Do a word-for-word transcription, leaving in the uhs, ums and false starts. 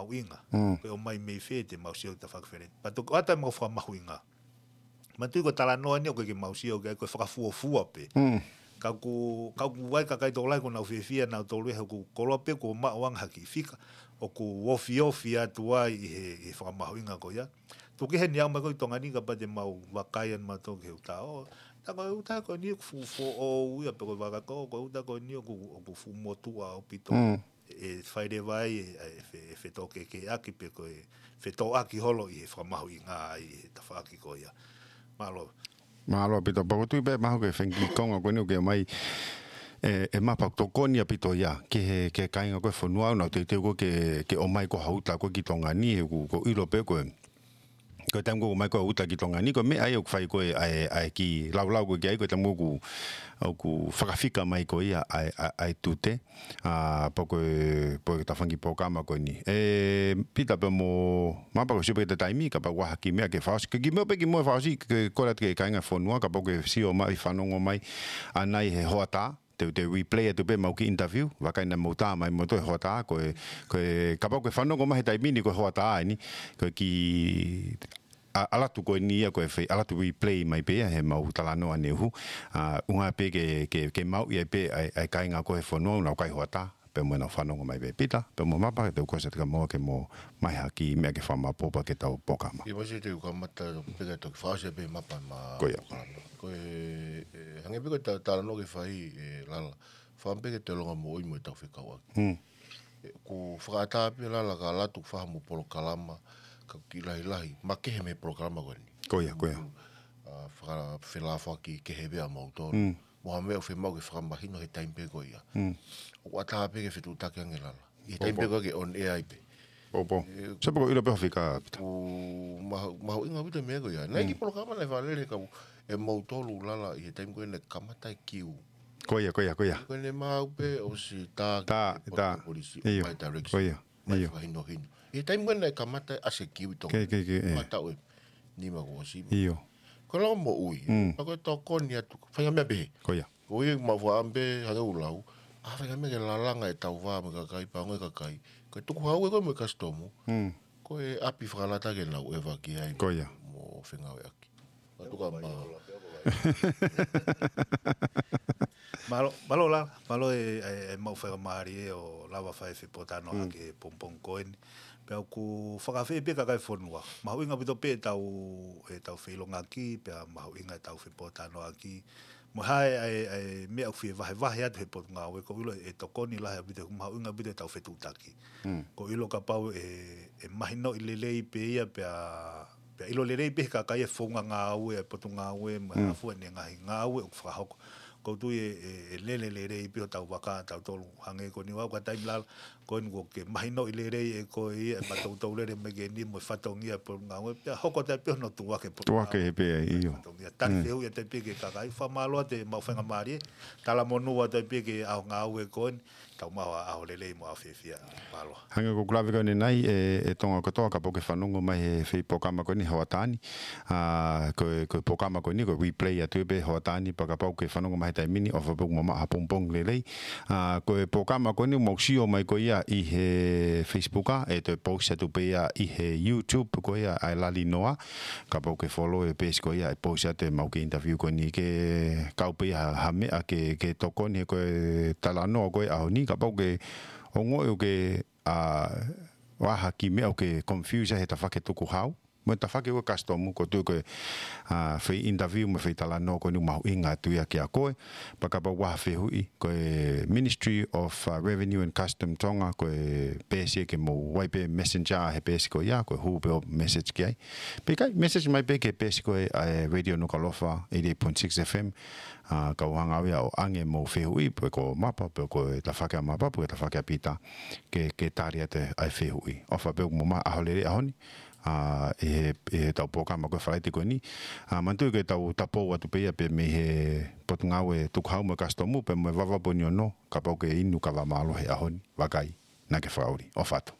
fakamahuʻinga. Mm. Ko e ʻomai mei fē te mau sio ki he tafaʻaki feleti. Pea toki ʻoatu ʻemau fakamahuʻinga. Manatuʻi ko e talanoa ni ʻoku ʻikai ke mau sio ki ai, ko e fakafuofua pē. Mm. Ka ʻoku, ka ʻoku ʻi ai e kakai tokolahi ʻoku nau fiefia nautolu he ʻoku koloa pē kuo maʻu ange ha kiʻi fika, ʻoku ofiofi atu ai ʻi he, ʻi he fakamahuʻinga ko ia. Tuku kehe ʻeni ʻomai ko ē ki Tonga ni kapau te mau vakai ʻa mautolu ki he uta. ʻO, tā ko e uta ko eni ʻoku fuʻu foʻou ia pe ko e vaka ko, ko e uta ko eni ʻoku, ʻoku fuʻu motuʻa ʻaupito. Mm. ʻE fai leva ai e, e fe-, e fetōkekeʻaki pe ko e fetōʻaki holo ʻi he fakamahuʻinga ai ʻi he tafaʻaki ko ia. Mālō. Mālō ʻaupito, pea ʻoku ou tui pē mahalo ko e fengi konga ko eni ʻoku ke ʻomai e, e mapa ʻoku tokoni ʻaupito ia ki he, ki he kāinga ko ē e fonua ʻoku nau teuteu ko ē ke, ke ʻomai ko ē ha uta ko ē ki Tonga ni, he ʻoku, ʻoku ou ʻilo pē ko e, ko e taimi ko ē ʻoku ʻomai ko ē ha uta ki Tonga ni, ko e meʻa ia ʻoku fai ko ē ʻa e, ʻa e kiʻi laulau ko ē ki ai, ko e taimi ko ē ʻoku, ʻoku fakafika mai ko ia ʻa e, ʻa e, ʻa e tute. ʻA, pea ko e, pea ko e tafaʻaki polokalama ko eni. ʻE, Pita pea mo Mapa, ko e sio pē ki he taimi, kapau ʻoku ʻi ai ha kiʻi meʻa ke fakaʻosi. Kiʻi meʻa pē kimuʻa fakaʻosi, ke kole atu ki he kāinga e fonua, kapau ʻoku ke sio mai, fanongo mai ʻanai he hoʻatā, te, te replay atu pē ʻemau kiʻi interview, vakai naʻa mou tā mai moutolu he hoʻatā, ko e, ko e, kapau ʻoku ke fanongo mai he taimi ni ko e hoʻatā eni, ko e kiʻi ʻa, ʻalu atu ko eni ia ko e fai, ʻalu atu replay mai pē ia heʻemau talanoa ʻaneuhu. ʻA, ʻuhinga pē ke, ke, ke maʻu ia pē ʻa e, ʻa e kāinga ko ē e fonua ʻoku nau kai hoʻatā, pea mo ʻenau fanongo mai pē. Pita, pea mo Mapa, te u kole atu kia moutolu ke mou ʻomai ha kiʻi meʻa ke fakamaʻopoʻopo ki heʻetau polokalama. ʻIo, masi te u kamata pē ke toki fakaʻosi pē Mapa ʻema polokalama. Ko ia. Ko e, e, hangē pē ko e ta-, talanoa ʻoku ke fai, e, Lala. Fakaʻamu pē ke te longa moʻui mo ʻetau fekauʻaki. Hmm. ʻE, ʻoku fakaʻatā pē Lala ka ʻalu atu ʻo fai haʻamou polokalama, ka ʻoku kiʻi lahilahi, makehe mei he polokalama ko eni. Ko ia, ko ia. ʻA, fakafelāfaki kehe pē ʻa mautolu. Mm. Mo ha meʻa ʻoku fiemaʻu ke fakamahino he taimi pē ko ia. Mm. ʻOku ʻatā pē ke fetuʻutaki ange Lala. ʻI he taimi pē ko ia ʻoku ke on air ai pē. Pōpō. ʻE, sio pē ʻoku ou ʻilo pē hoʻo fika, Pita. ʻOku mahu-, mahuʻinga ʻaupito e meʻa ko ia. Naʻe ʻi ai e kiʻi polokalama naʻe fakalele ka ʻoku ʻi ai mautolu Lala ʻi he taimi ko ē naʻe kamata e kiu. Ko ia, ko ia, ko ia. Ko ʻene maʻu pē ʻosi tā ki he poto polisi ʻo fai direction. Ko ia, ʻio. Fakahinohino. ʻI he taimi ko ē naʻe kamata ʻa e kiu ʻi Tonga. Ke, ke, ke, ʻe. Mataʻu ʻe nima kuo ʻosi. ʻIo. Ko e lau moʻui. Mm. Pea ko e tokoni atu. Faʻahinga meʻa pehē. Ko ia. Ko ia ʻoku mau fakaʻamu pē hangē ʻoku lau. ʻA, faʻahinga meʻa ke lalanga ʻetau vā mo e kakai, pea ongoʻi e kakai. Ko e tukuhau ē ko ē mo e kasitomu. Mm. Ko e ʻapi fakalata ke nau ʻeva ki ai. Ko ia. Mo fengāueʻaki. Mālō, mālō Lala, mālō e, e, e maʻu faingamālie ʻo lava fai e fepōtalanoaʻaki he pongipongi ko eni. Pea ʻoku fakaafeʻi pē kakai e fonua. Mahuʻinga ʻaupito pē ʻetau, ʻetau feʻilongaki, pea mahuʻinga ʻetau fepōtalanoaʻaki. Mo e hā e, e, e meʻa ʻoku fie vahevahe atu he Potungāue, ʻoku ou ʻilo ʻe tokoni lahi ʻaupito, mahuʻinga ʻaupito ʻetau fetuʻutaki. Mm. ʻOku ou ʻilo kapau ʻe, ʻe mahinoʻi lelei pē ia pea, pea ʻilo lelei pē he kakai e founga ngāue ʻa e Potungāue mo e hā fua ʻene ngaahi ngāue ʻoku fakahoko. ʻOku ou tui ʻe, ʻe, ʻe lele lelei pē hotau vaka ʻatautolu hangē ko eni ʻoku ʻi ai e taimi Lala, ko eni kuo ke mahinoʻi lelei ʻe koe ia ʻe maʻu toutou lele mai ki heni mo e fatongia e Potungāue pea hoko atu ai pē hono tuʻuaki e Potungāue. Tuʻuaki pē ai, ʻio. Fatongia. Tali fehuʻi atu ai pē ki he kakai, fakamālō atu e maʻu faingamālie, talamonū atu ai pē ki he ʻaho ngāue ko eni, tau maʻu ha ʻaho lelei mo ʻaho fiefia. Mālō. Hangē ko ʻeku lave ko eni ʻanenai, e, e Tonga kotoa kapau ʻoku ke fanongo mai he foʻi polokalama ko eni he hoʻatā ni. ʻA, ko e, ko e polokalama ko eni, ko e replay atu pē he hoʻatā ni, pea kapau ʻoku ke fanongo mai he taimi ni, ʻofa pē ʻoku mou maʻu ha pongipongi lelei. ʻA, ko e polokalama ko eni ʻoku mou sio mai ko ia ʻi he Facebook, ʻa, ʻe toe post atu pē ia ʻi he YouTube ko ia ʻa e Lali Noa. Kapau ʻoku ke follow e page ko ia ʻe post atu ʻemau kiʻi interview ko eni ke kau pē ia ha, ha meʻa ke, ke tokoni he ko e talanoa ko ē ʻaho ni, kapau ʻoku ke ongoʻi ʻoku ke, ʻa, ʻi ai ha kiʻi meʻa ʻoku ke confuse ai he tafaʻaki tukuhau. Mo e tafaʻaki ko ē kasitomu, ʻoku ou tui ko e, ʻa, foʻi interview mo e foʻi talanoa ko eni ʻoku mahuʻinga atu ia kiate koe. Pea kapau ʻoku ʻi ai ha fehuʻi, ko e Ministry of, ʻa, Revenue and Custom Tonga, ko e peesi ia ke mou ʻai pē messenger he peesi ko ia, ko e hū pē hoʻo message ki ai. Pe ʻikai, message mai pē ki he peesi ko ē ʻa e Radio Nukuʻalofa, eighty-eight point six F M, ʻa, kau hanga au ia ʻo ʻange ʻemou fehuʻi, pe ko Mapa, pe ko e tafaʻaki ʻa Mapa, pe ko e tafaʻaki ʻa Pita, ke, ke tali atu ʻa e fehuʻi. ʻOfa pē ʻoku mou maʻu ha ʻaho lelei he ʻaho ni, ʻa, ʻi he, ʻi heʻetau polokalama ko ē Falaite ko eni. ʻA, manatuʻi ke tau tapou atu pē ia pē mei he Potungāue Tukuhau mo e Kasitomu, pea mo e Vavaʻu Pō ni ono, kapau ʻoku ke inu kava mālohi he ʻaho ni, vakai, naʻa ke fakaʻuli. ʻOfa atu.